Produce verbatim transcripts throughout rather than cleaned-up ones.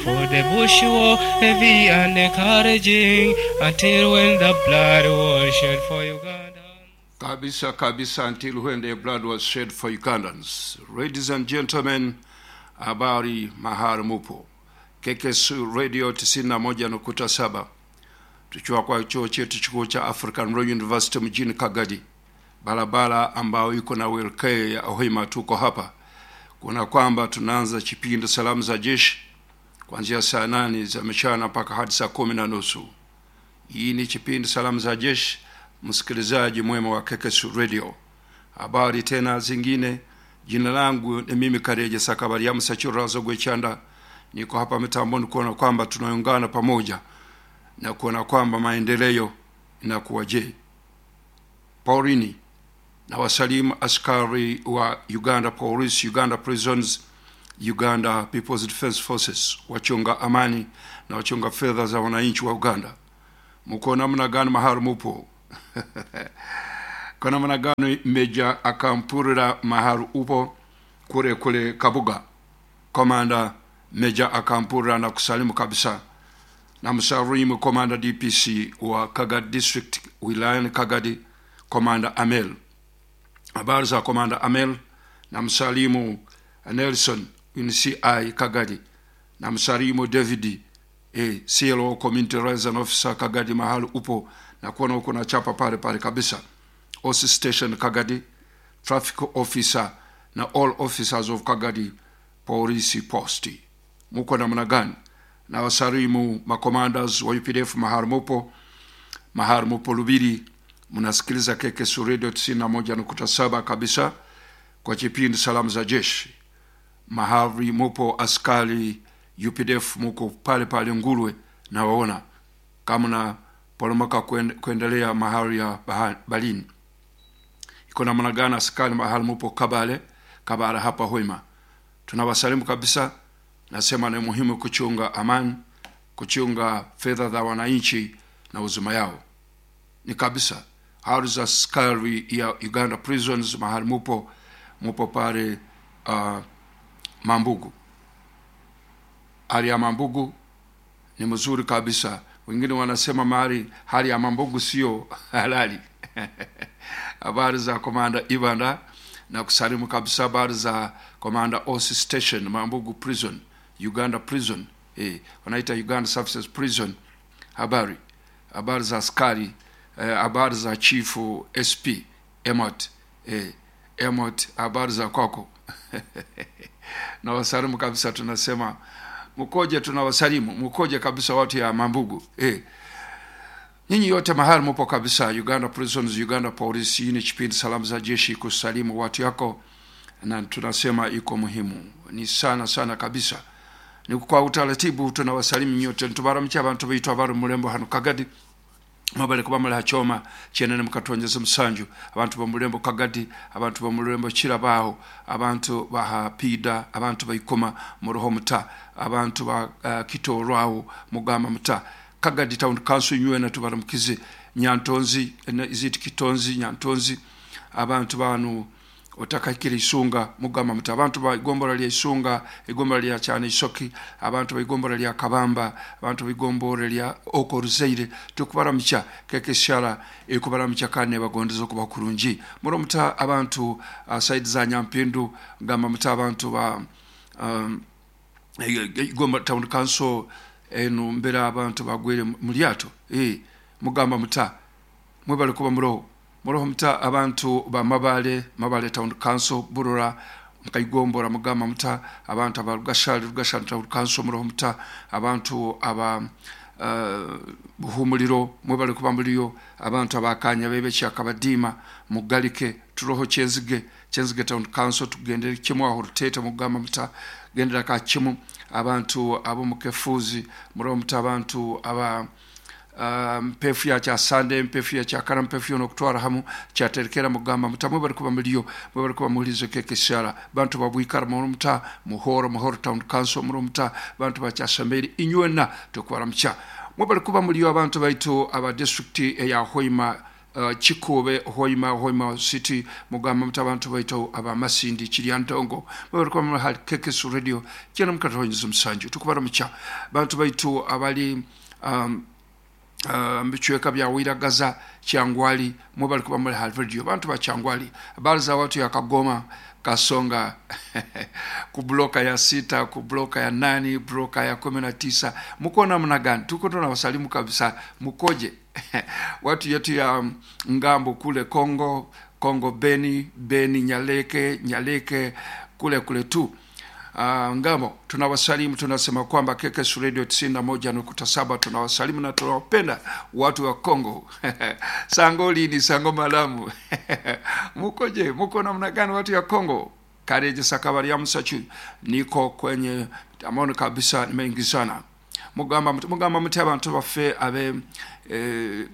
For the bush war heavy and encouraging until when the blood was shed for Uganda. Kabisa kabisa, until when the blood was shed for Ugandans. Ladies and gentlemen, habari mahali mupo. K K S Radio tisini na moja nukta saba, tukiwa kwa chuo chetu kikuu cha African Royal University mjini Kagadi, barabara ambayo iko na welkee ya Hoima. Tuko hapa kuna kwamba tunaanza kipindi Salamu za Jeshi kuanzia saa nane za mchana mpaka hadi saa kumi na nusu. Hii ni kipindi Salamu za Jeshi, msikilizaji mwema wa K K S Radio. Habari tena zingine, jina langu ni mimi Kareje Sakabari Musachurazo Gwechanda, niko hapa mitamboni kuona kwamba tunaungana pamoja na kuona kwamba maendeleo inakuwa je. Paurini na wasalimu askari wa Uganda Police, Uganda Prisons, Uganda People's Defence Forces, wachunga amani na wachunga fedha za wananchi wa Uganda. Mko namna gani mahali mupo? Kwa namna gani Meja Akampurira mahali upo kule kule Kabuga? Komanda Meja Akampurira na kusalimu kabisa na msalimu Komanda D P C wa Kagadi District, wilayani Kagadi, Komanda Amel. Habari za Komanda Amel? Na msalimu Nelson C I Kagadi, na msalimu David eh, C L O, Community Liaison Officer Kagadi, mahali upo na kuona uko na chapa pale pale kabisa. O C Station Kagadi, traffic officer na all officers of Kagadi Police Post, muko namna gani? Na wasalimu macommanders wa U P D F mahali mupo, mahali mupo Lubiri, mnasikiliza K K S Radio tisini na moja nukta saba kabisa kwa kipindi Salamu za Jeshi. Mahali mupo askari U P D F, muko pale pale Ngulwe, na waona kama na poromoka kuendelea mahali ya Balini iko namna gani? Askari mahali mupo Kabale, Kabale hapa Hoima, tunawasalimu kabisa. Nasema ni muhimu kuchunga amani, kuchunga fedha za wananchi na uzima yao ni kabisa. Hali za askari ya Uganda Prisons mahali mupo, mupo pale uh, Mambugu, hali ya Mambugu ni mzuri kabisa. Wengine wanasema mahali hali ya Mambugu sio halali. Habari za Komanda Ibanda? Na kusalimu kabisa. Habari za Komanda O C Station Mambugu Prison, Uganda Prison, eh, wanaita Uganda Services Prison. Habari habari za askari eh, habari za Chifu S P Emot, eh, Emot, habari za kwako? Na wasalimu kabisa, tunasema mkoje, tunawasalimu mkoje kabisa watu ya Mambugu eh. Nyinyi yote mahali mupo kabisa, Uganda Prisons, Uganda Police. Hii ni kipindi Salamu za Jeshi, kusalimu watu yako, na tunasema iko muhimu ni sana sana kabisa. Ni kwa utaratibu tunawasalimu nyote, ntubaramukya abantu bitu abari mulembo hano Kagadi, mwabale kuba muli hachoma chenene mukatwonjeza musanju. Abantu bomulembo Kagadi, abantu bomulembo Kirabaho, abantu bahapida, abantu baikoma muruho muta, abantu ba uh, Kitorwaho mugamba muta. Kagadi Town Council nywena tubaramukize. Nyantonzi, iziti Kitonzi, Nyantonzi, abantu banu otakakira Isunga mugamba muti. Abantu ba igombora lya Isunga, igombora lya Cyane Isoki, abantu ba igombora lya Kabamba, abantu ba igombora lya Okoruzeire, tukubaramukya. Kekeshara ekubaramukya kandi bagondeza okuba kurungi muromuta. Abantu uh, side za Nyampindu gamba muta. Abantu ba um, Igomba Town Council enu mbera, abantu bagwere mu lyato eh mugamba muta, mwebale kuba muroho muroho muta. Abantu ba Mabale, Mabale Town Council, Burora mukaigombora mugamba muta. Abantu aba Rugashali, Rugashali Town Council, muroho muta. Abantu aba uh, Buhumuliro, mwebale kuba muliyo. Abantu abakanya bebe kyakabadima mugalike turoho. Kyenzige, Kyenzige Town Council, tugendere kimu aho Rutete mugamba muta, gendera ka kimu. Abantu abo mukefuzi muroho muta. Abantu aba uh, mpefu ya kyasande, mpefu ya kyakara, mpefu yono okutwara hamu kyaterekera mugamba muta. Mwebale kuba muliyo, mwebale kuba mulizo kekesara. Bantu babwikara muroho muta. Muhoro, Muhoro Town Council, muroho muta. Bantu bakyasameri inywena tukubaramukya, mwebale kuba muliyo. Abantu baitu aba district eya Hoima. uh, Kikube, Hoima, Hoima City, mugamba muti abantu baitu abamasindi Kiryantongo, mwebale kuba muli hali K K S Radio kyenda mukatonyeza musanju. Tukubara mucha bantu baitu abali um, uh, mbicweka bya Wiragaza, Kyangwali, mwebale kuba muli hali radio. Bantu ba Kyangwali, habari za watu ya Kagoma, Kasonga, kubloka ya sita, kubloka ya nane, bloka ya kumi na tisa, muko namna gani? Tuko tunawasalimu kabisa, mukoje? Watu yetu ya ngambo kule Kongo, Kongo Beni, Beni Nyaleke, Nyaleke kule kule tu. Uh, ngambo tunawasalimu, tunasema kwamba K K S Radio tisini na moja nukta saba tunawasalimu na tunawapenda watu wa Kongo. Sangoli ni sango malamu. Mukoje, muko namna gani watu ya Kongo? Kareje sakabari ya msachu, niko kwenye amoni kabisa, nimeingizana. Mugamba mugamba muti abantu baffe abe eh,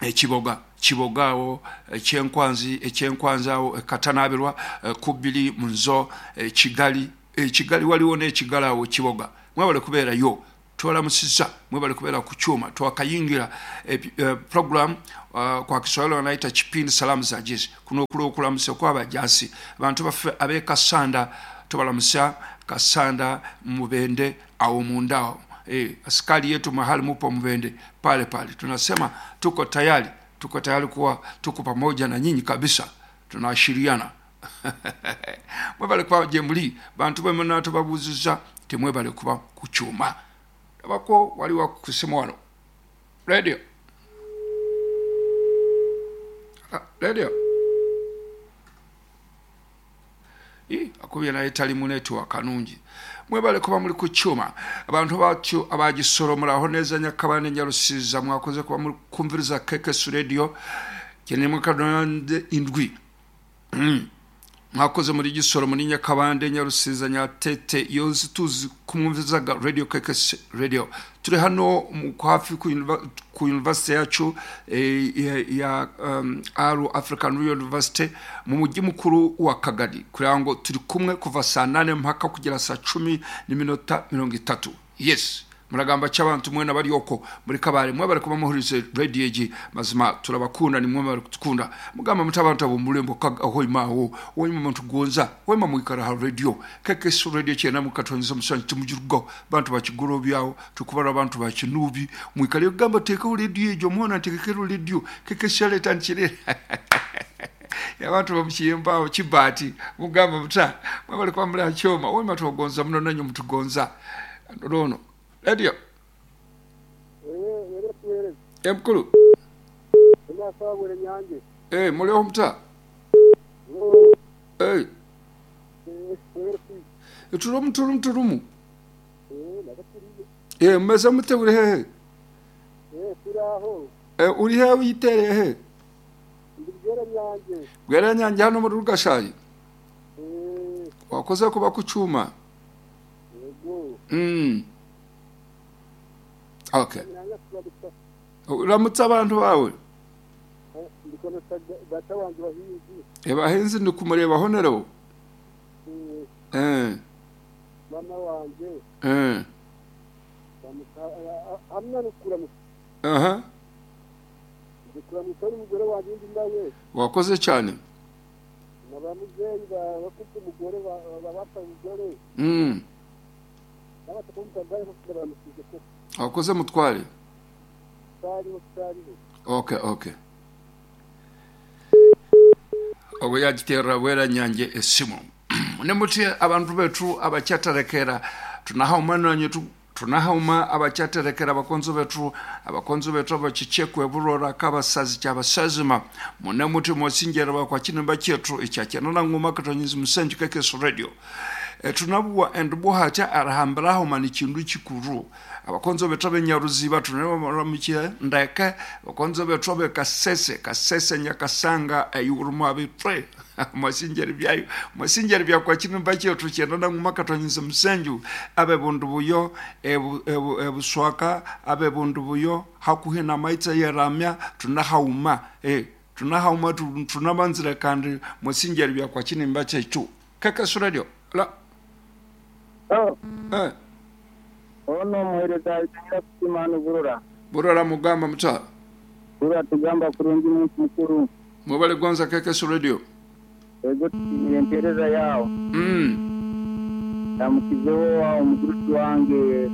ekiboga kibogaawo ekyenkwanzi ekyenkwanzaawo ekatanabirwa kubiri munzo Kigali Kigali waliwo n'ekigalaawo Kiboga. Mwebale kubeerayo, twalamusizza, mwebale kubeera ku kyuma. Twakayingira e, e, program uh, kwa Kiswahili wanaita kipindi salamu za jeshi. Kuno okulo okulamusa kw'abajaasi abantu baffe ab'e Kasanda, tubalamusa Kasanda Mubende awo mundaawo. E, askari yetu mahali mupo Mubende pale pale, tunasema tuko tayari, tuko tayari kuwa tuko pamoja na nyinyi kabisa, tunaashiriana. Mwebale kuba jemuli bantu bwe muna tubabuuziza temwebale kuba ku kyuma. Abako wali wa kusema wano radio ah, radio I akubye naye tali mu network kanungi. Mwebale kuba muli ku kyuma. Abantu batyo abagisoro muraho neza Nyakabande Nyarusiza, mwakoze kuba muri kumviriza K K S Radio kenye mukadonde indwi. Mm. Mwakoze muri gisoro muri Nyakabande Nyarusiza Nyatete yose tuzi kumvirizaga radio K K S Radio. Turi hano mu hafi ku ku university yacu e, ya, ya um, Aru African University mu mujyi mukuru wa Kagari, kugira ngo turi kumwe kuva saa nane mpaka kugera saa cumi n'iminota mirongo itatu. Yes, muragamba cy'abantu mwe nabari yoko muri kabare, mwe bari kuba muhurize radio egi mazima turabakunda, ni mwe bari kutukunda. Mugamba mutabantu abo mulembo aho imawo wo muntu gonza we mamwikara ha radio K K S Radio cyena mukatonza musanyi tumujirugo bantu bakigoro byawo tukubara abantu bakinubi mwikale gamba teka radio ejo mwana tekekero radio K K S leta nchire abantu bamukiyemba kibati mugamba muta mwe bari kuba muri acyoma we matugonza muno nanyo mutugonza rono radio. Eh, mkulu. Eh, mulio mta. Eh. Turumu turumu turumu. Eh, meza mute uri hehe. Eh, turaho. Eh, uri hehe uyitere he. Ndibwera nyange. Bwera nyange hano muri Rugashayi. Eh. Wakoze kuba ku cyuma. Yego. Mm. Okay. Uramutse abantu bawe. Data wanjye bahinzi. Eh, bahinzi ndi kumureba honero. Eh. Mama wanje. Eh. Hamwe no kuramutsa. Aha. Ndikuramutsa n'umugore wanjye ndi nawe. Wakoze cyane. Nabamuzeyi bafite umugore bapfa umugore. Mm. Wakoze mutware. Okay, okay. Ogo yagitera wera nyange esimu. Nemuti abantu betu abacyatarekera tunahauma nanye tu tunahauma abacyatarekera abakonzo betu abakonzo betu abakichekwe burora kabasazi cyabasazima munemuti mosingera bakwa kinimba cyetu icyakena ngoma katonyiza musenje K K S Radio. E, tunabuwa and buhacha arahambiraho mani kindu kikuru abakonzo betu benyaruziba tunabamuramukiye ndeke abakonzo betu be Kasese Kasese Nyakasanga ayurumu abitwe mwasingeri byayo mwasingeri bya kwa kinimba cyetu cyenda ngoma katonyiza musenju abe bundu buyo ebuswaka abe bundu buyo hakuhina maitsa yeramya tunahauma eh tunahauma tunabanzira kandi mwasingeri bya kwa kinimba cyetu K K S Radio la. Oh. Eh. Ono muhereza Nyirakutimana Burora. Burora mugamba muta. Turatugamba kurungi muntu mukuru. Mwebale gonza K K S Radio. Ego tushimire empereza yawe. Mm. Ndamukizeho omugurusi wange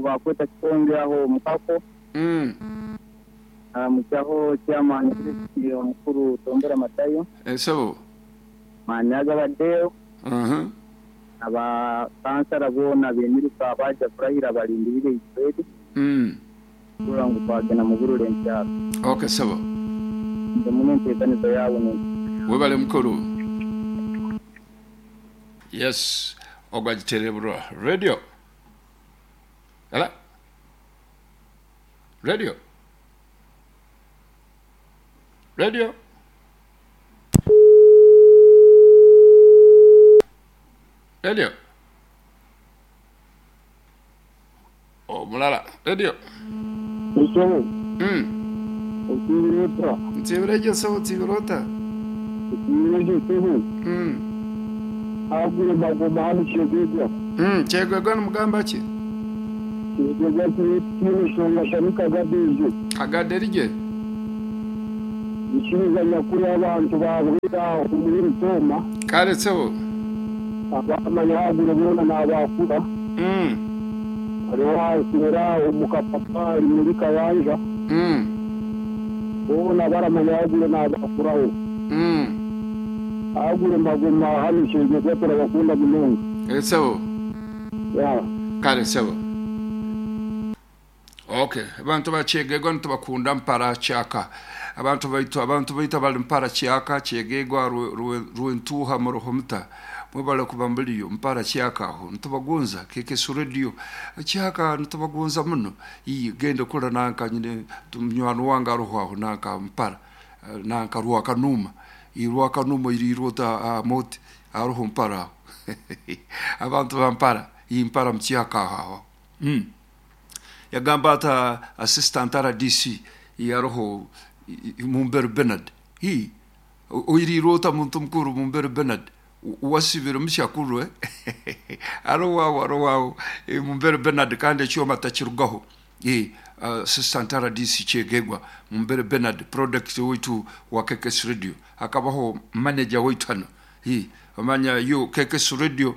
bakweta kikonge aho mukako. Mm. Aramukyaho chairman omukuru Tombera Matayo. Esebo. Manyaga badeo. Mhm. Aba kansara bona bemiruka abaja kurahira balindirire itwedi. Mm. Kura ngu twagenda mugurure enkyaro. Okay, sebo. Ndemune enteekanizo yawe ne. Webale mukuru. Yes, ogwagiterebura radio. Ela. Radio. Radio. Radio. Oh, mulala. Radio. Isho. Mm. Okirota. Ntibireje so tibirota. Ntibireje so. Mm. Agure bagoma hano chegegwa. Mm, chegegwa n'mugamba ki? Chegegwa kiri shonga shanika gadeje. Agaderije. Ikiriza nyakuri abantu babwira umuri toma. Kare sebo. Abamanya agure bona nabakura. Mm. Ariho asira umukapapa muri kayanja. Mm. Bona baramanya agure nabakuraho. Mm. Agure magoma hano chegegwa turabakunda munonga. Esebo. Ya. Kare sebo. Okay, abantu bachegegwa ntibakunda mpara chaka. Abantu baitu abantu baita bali mpara chaka chegegwa ruentuha muruhumta. Mwebale kubambuliyo mpara chaka aho ntubagunza K K S Radio chaka ntubagunza muno. Iyi genda kula nanka nyine tumnywano wanga ruho aho nanka mpara nanka ruwa kanuma. Iruwa kanuma iri rota uh, moti aruho mpara. Abantu bampara iyi mpara mchaka aho. Mm. Yagamba ata assistant R D C yaroho Mumbere Bernard. Hi oiri rota muntu mukuru Mumbere Bernard wasibira mushakuru eh aro wawo aro wawo Mumbere Bernard kandi cyo matakirugaho eh assistant R D C chegegwa Mumbere Bernard product witu wa K K S Radio akabaho manager witu hano hi amanya yo K K S Radio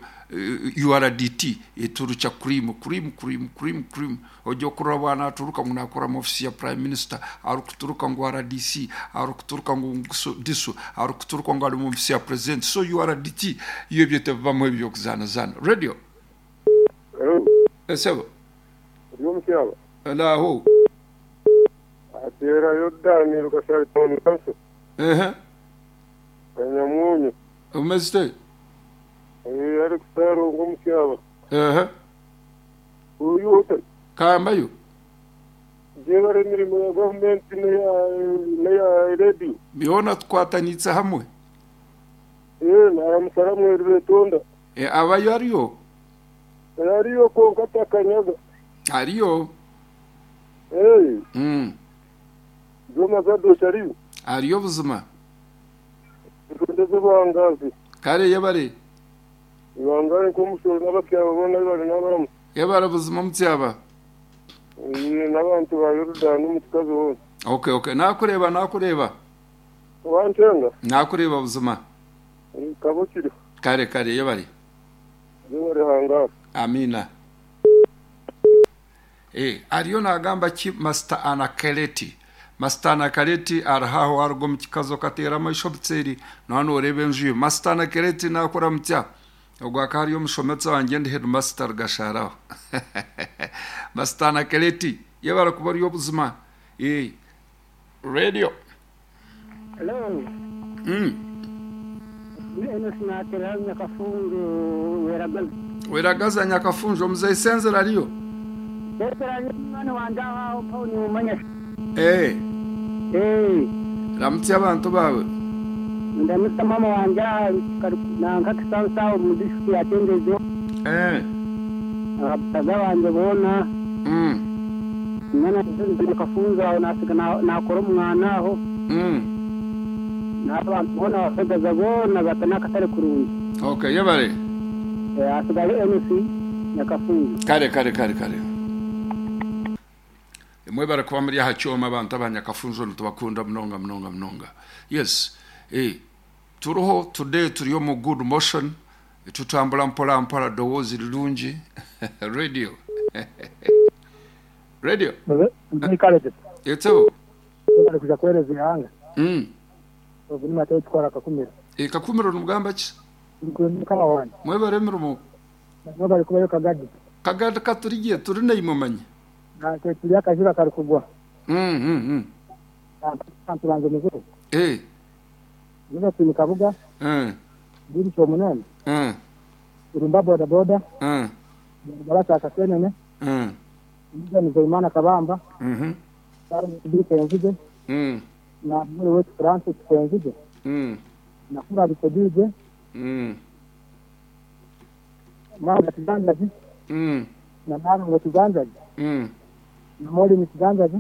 U R D T iturucha cream cream cream cream cream ojo kurabana aturuka munakora mu office ya prime minister arukuturuka ngo R D C arukuturuka ngo disu arukuturuka ngo ari mu office ya president so U R D T iyo byete bamwe byo kuzana zana radio. Hello. Esebo Yo mkyaba la ho atera yodani rukasha toni kanso eh kanyamunyu umeste eh ari kusaro ngo mkyaba eh uyu hote kambayo jebare mirimo ya government ne ya radio biona twatanitse hamwe eh naramusara rwetonda eh abayo ariyo ariyo ko katakanyaga ariyo eh mm zoma zado shariyo ariyo buzima ndeze bangazi kare yabare ibangare ko mushoro n'abakyaba bona bari n'abaramu yabara buzima mutyaba eh n'abantu ba Yordan n'umutkazi wose. Okay okay nakureba nakureba wantenga nakureba buzima kabukiri kare kare yabare yabare hanga amina. Eh ariyo nagamba ki Master Anakeleti Master Anakeleti arahaho argo mukikazo katera mashobtseri nano orebe njuye Master Anakeleti nakora mutya ogwa kariyo mushometsa wanje ndi headmaster gasharaho Master Anakeleti yabara kuba ariyo buzima eh radio. Hello. Mm. Eno sinatera nyakafungu weragaza weragaza nyakafunjo mzee senzera ariyo senzera mwana wanje aho pauni umanya eh eh ramutse abantu bawe ndamutse mama wanje nanka kisansa mu district ya Tengezo eh abasaza banje bona mm mwana nyakafunzo aho nasiga nakora umwana aho mm n'abantu bona bafagaza bona batanaka tare kurungi. Okay yabare eh asigaye M C nyakafunzo kare kare kare kare Mwebare kuba muri aha kyoma abantu abanyakafunzo nitubakunda munonga munonga munonga. Yes, eh, turiho today, turi omu good motion, tutambula mpola mpola, ddoboozi lirungi. Radio, radio. Nzikalete. Etebo. Bari kuja kuhereza ihanga. Mm. Obu ni Mateyo tukora Kakumiro. E, Kakumiro nimugamba ki? Mukama wange. Mwebare emirimo. Nabo bari kubayo Kagadi. Kagadi katurigiye turi naimwe manye. Natwe turi akajura kari kugwa. Mm, mm, mm. Abantu banze muzuru. Eh. Niba turi Kabuga. Mm. Biri cyo munani. Mm. Urumba boda boda. Mm. Barasa kasenene. Mm. Ndiga Nzeyimana Kabamba. Mhm. Sara Biri Kenzige. Mm. Na muri wetu Francis Kenzige. Mm. Na kura bikodije. Mm. Mama Kiganzaji. Mm. Na mama ngo Kiganzaji. Mm. Na Moli ni Kiganzaji.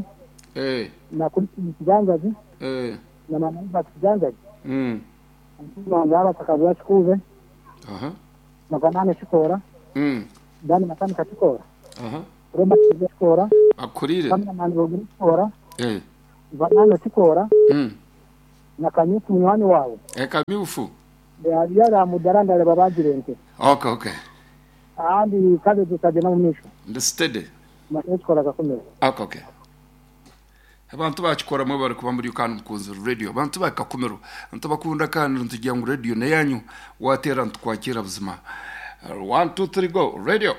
Eh. Na kuri Kiganzaji. Eh. Na mama Iba Kiganzaji. Mm. Mwana takabwa shikuve. Aha. Na banane shikora. Mm. Dani matani kachikora. Aha. Roma shikora. Akurire. Kamna mani bogiri shikora. Eh. Banane shikora. Mm. Na kanyufu munywani wawe. E kamyufu. Yara mudaranda le babagirente. Okay, okay. Ahandi kaze tukagenda mu misho. Ndi steady. Mateyo shikora Kakumiro. Okay, okay. Abantu bakikora mwe bari kuba muri kandi mukunzi radio, abantu bakakumiro ntibakunda kandi ntugira ngo radio neyanyu watera ntkwakira buzima. One, two, three, go radio.